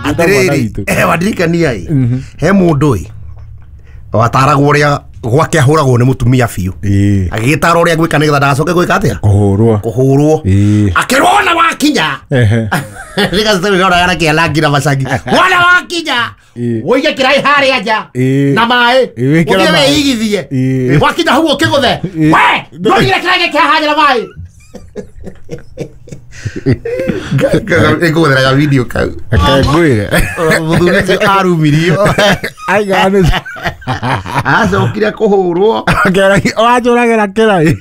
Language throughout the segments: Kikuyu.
Atiriri, wandirikania ĩ, he mũndũ ĩ wataragwo ũrĩa gwake ahũragwo nĩ mũtumia biũ. Agĩgĩtara ũrĩa gwĩka nĩgetha ndagacoke gwĩka atĩa? Kũhũrwo. Kũhũrwo. Ĩĩ. Akĩrwo wona wakinya. Nĩgacitawĩonaga kĩalangi na macangi. Wona wakinya. Ĩĩ. Wũige kĩraĩ harĩa nja. Ĩĩ. Na maĩ. Ĩĩ, wĩkĩre Ũthiĩ maĩ. wĩigithie. Ĩĩ. Wakinya hau ũkĩgũthe. Ĩĩ. We, ndũigire kĩraĩ gĩkĩ haha nja na maĩ. Ngũgũtheraga video kau. Reke ngwĩre. Mũthuri ũcio arumirio. Aiga nĩ Acokire kũhũrwo. Wanjũragĩra kĩraĩ.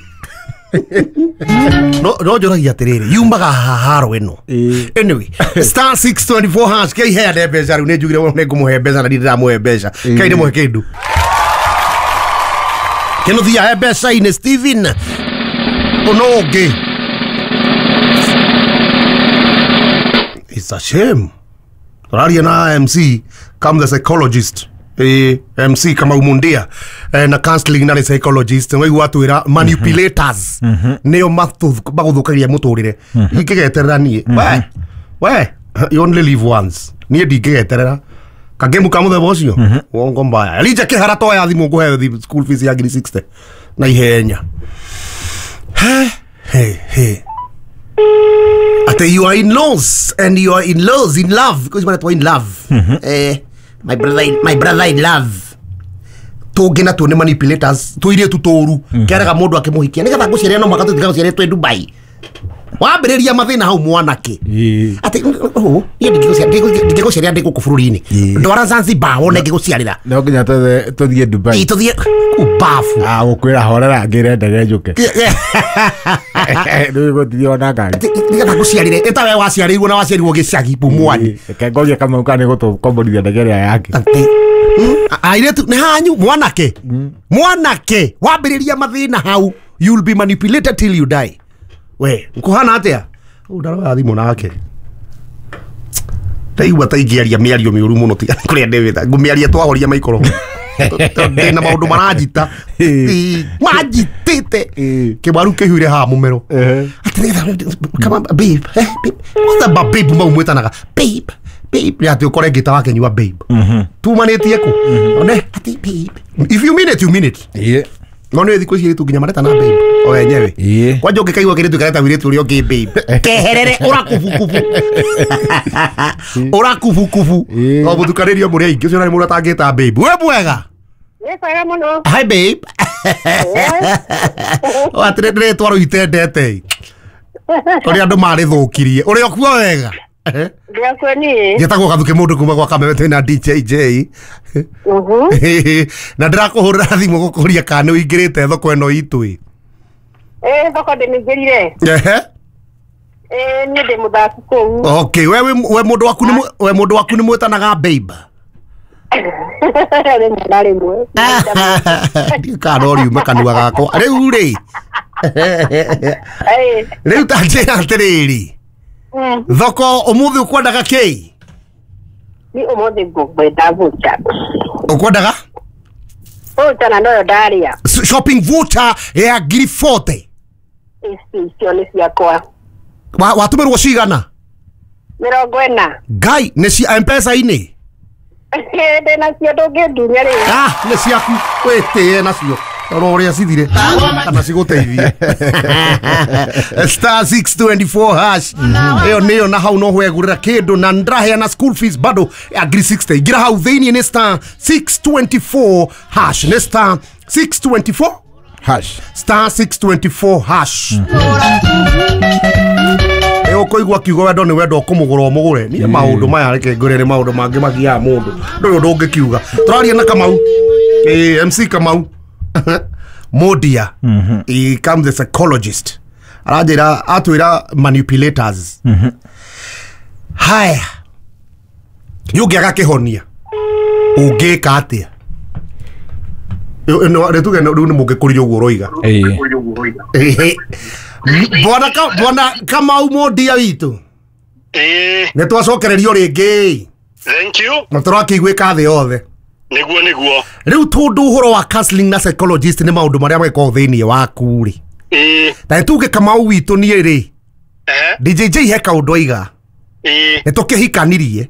No njũragia atĩrĩrĩ, yumaga haha haro ĩno. Ĩĩ. Anyway, *624# kei heane mbeca rĩu, nĩ njugire nĩ ngũmũhe mbeca na ndirĩ ndĩramũhe mbeca. Kei ndĩmũhe kĩndũ. Kĩnũthia he mbeca-inĩ Steven. Ũno ũngĩ. It's a shame. Tũraria na MC come the psychologist. MC Kamau Mundia na counseling na nĩ psychologist waigua atwĩra manipulators nĩo magũthũkagia mũtũrĩre. Ingĩgeterera niĩ, we you only live once. Niĩ ndingĩgeterera kagemu ka mũthemba ũcio, wongo mbaya. Elija Kĩhara, toya thimũ ngũhe school fees ya ngiri 60 na ihenya. He he he, ate you are in laws and you are in laws in love because you in love, my brother in love tũngĩ natuo nĩ manipulators, tũirĩtu tũru keraga mũndũ akĩmũhikia nĩgetha ngũciarĩre, no mũhaka tũtiga twĩ Dubai. Wambĩrĩria mathĩna hau mwanake. Ĩĩ. Atĩ ũũ niĩ ndingĩgũciarĩra ndĩ gũkũ bũrũri-inĩ. Ndwara Zanzibar wone ngĩgũciarĩra. No nginya tũthiĩ Dubai. Ĩ, tũthiĩ ubafu. Ah, gũkwĩra horera ngĩre ndege njũke. Rĩu gũthiĩ ona ngari. Nĩgetha ngũciarĩre ĩta we waciarĩirwo na waciarirwo gĩcagi Pumwani. Ĩĩ, reke ngorie Kamau kana nĩ gũtũkomborithia ndege ĩrĩa yake. Atĩ airĩtu nĩ hanyu mwanake, mwanake wambĩrĩria mathĩna hau, you'll be manipulated till you die. We nkuhana atĩa? Ũũ ndaroya thimũ nake ndaigua ta ingĩaria mĩario mĩũru mũno, tiga kũrĩa ndĩwĩta ngũmĩaria twahoria maikoro. Ndĩna maũndũ maranjita. Ĩĩ. Ĩĩ, manjitĩte. Ĩĩ. Kĩwaru kĩhuire haha mũmero. Atĩ nĩgetha come on, babe, babe, mũthemba babe mau mwĩtanaga babe, babe, nĩ atĩ ũkore ngĩta wakenyua babe tumanĩtie kũ one atĩ babe, if you mean it, you mean it. Ĩĩ. No nĩ thikũ ici airĩtu nginya maretana babe o enyewe. Ĩĩ. Kwanja ũngĩkaigua kĩrĩtu kareta wirĩtu ũrĩa ũngĩ babe, keherere, ũrakubukubu ũrakubukubu. Ĩĩ. No mũtukanĩrio mũrĩ aingĩ, ũcio nĩ mũndũ atangĩta babe. We mwega? Nĩ kwega mũno. Hi babe. Atĩ rĩtwa rĩu itendete ũrĩa andũ marĩthũkirie ũrĩa ũkuo wega. Ndĩakue niĩ. Njetagwo Gathuke mũndũ kuma gwa Kameme, twĩna DJJ. Na ndĩrakũhũrĩra thimũ gũkũria kana nĩ ũingĩrĩte thoko ĩno itũ ĩ. Ĩĩ, thoko ndĩmĩingĩrire. Ehe. Ĩĩ, niĩ ndĩ mũthaki kũu. Okay, we mũndũ waku nĩ we mũndũ waku nĩ mwĩtanaga babe? Rĩmwe na rĩmwe. Ndiũĩ kana no riume kanua gakwa rĩu rĩ. Ĩĩ. Rĩu ta njĩra atĩrĩrĩ, thoko ũmũthĩ ũkwendaga kĩ? Niĩ ũmũthĩ ngũkwenda voucher. Ũkwendaga? Voucher na noyo ndarĩa. Shopping voucher ya ngiri 40. Ici icio nĩ ciakwa. Watũmĩrwo cigana? 40. Ngai, nĩ cia Mpesa-inĩ? Ndĩ nacio, ndũngĩndunya rĩu. Ah, nĩ ciaku, wĩtĩe nacio, rora ũrĩa cithire kana cigũteithie. *624# ĩyo nĩyo, na hau no wegũrĩra kĩndũ na ndĩraheana school fees bado ya ngiri 60. Ingĩra hau thĩiniĩ nĩ *624#, nĩ *624 Hash. *624#. Ĩ ũkũigua kiugo wendo nĩ wendo, ũkũmũgũra ũmũgũre. Niĩ maũndũ maya reke ngwĩre nĩ maũndũ mangĩ magiaga mũndũ, ndũrĩ ũndũ ũngĩkiuga. Tũraria na Kamau, ĩ MC Kamau Modia. He come the psychologist, aranjĩra atwĩra manipulators. Haya, nĩ ũngĩaga kĩhonia ũngĩka atĩa? Rĩtuge rĩu nĩ mũngĩkũrire ũguo ũroiga. Ĩĩ. Ehe. Bwana Kamau Mondia witũ. Ĩĩ. Nĩ twacokererio rĩngĩ. Thank you. Na tũrakĩiguĩka thĩ yothe. Nĩguo. Rĩu tondũ ũhoro wa counseling na psychologist nĩ maũndũ marĩa magĩkoragwo thĩiniĩ waku rĩ, Ĩĩ. ta nĩ tuge Kamau witũ niĩ rĩ, Ehe. DJJ he kaũndũ aiga. Ĩĩ. Nĩ tũkĩhikanirie.